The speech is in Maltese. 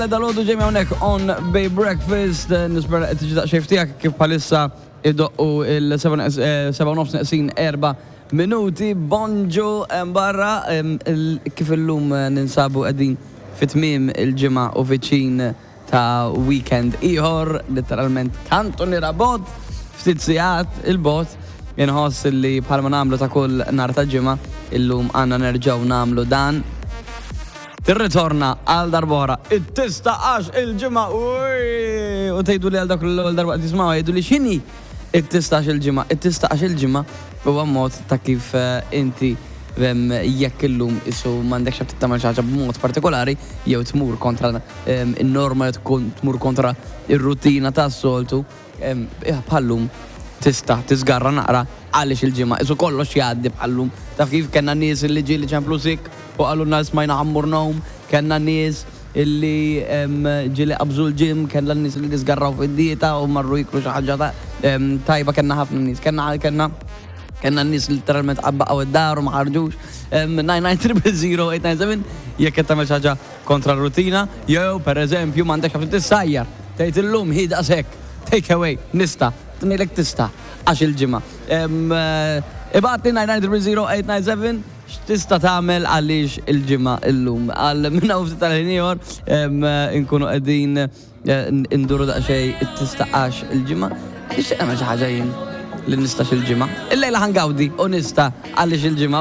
Dal-għodu Jamie hawnhekk on Bay Breakfast, nispera qed tiġi daqsxejn tiegħek kif bħalissa idoqqu il-7 nofs neqsin 4 minuti. Bonġu barra kif illum ninsabu qegħdin fit-tmiem il-ġimgħa u viċin ta' weekend ieħor, letteralment kantuniera bogħod, ftit sigħat il-bogħod, inħoss li bħalma nagħmlu ta' kull nhar ta' ġimgħa, illum għandna nerġgħu nagħmlu dan. Tirritorna għal darb'oħra it-tista għax il-ġimgħa u tgħidu li għal dak l-ewwel darba qed jisimgħu jgħidu li x'inhi it-tista għax il-ġimgħa. It-tista għax il-ġimgħa huwa mod ta' kif inti jekk illum isu m'għandekx aptit tagħmel xi ħaġa b'mod partikolari jew tmur kontra in-norma jew tmur kontra ir-rutina tas-soltu, bħal-lum tista' tiżgarra naqra għaliex il-ġimgħa isu kollox jgħaddi bħal-lum. Taf kif kellna nies illi ġieli ċemplu sick u qalulna smajna ħa mmur ngħum, kellna nies illi ġieli qabżu l-gym, kellna nies illi żgarraw fid-dieta u marru jieklu xi ħaġa tajba, kellna ħafna nies. Kellna kellna kellna nies litteralment baqgħu id-dar u ma ħarġux. 99 000 897 jekk qed tagħmel xi ħaġa kontra r-rutina, jew pereżempju m'għandekx għalfejn tissajjar, tgħid illum hi daqshekk, take away, nista', ngħidlek tista' għax il-ġimgħa. Ibgħatli 99 000 897 x'tista' tagħmel għaliex il-ġimgħa illum. Għal minn hawn ftit tal-ħin ieħor inkunu qegħdin induru daqsxejn it-tista' għax il-ġimgħa. Nixtieq nagħmel xi ħaġa jien li nistax il-ġimgħa. Illejla ħa ngawdi u nista' għaliex il-ġimgħa.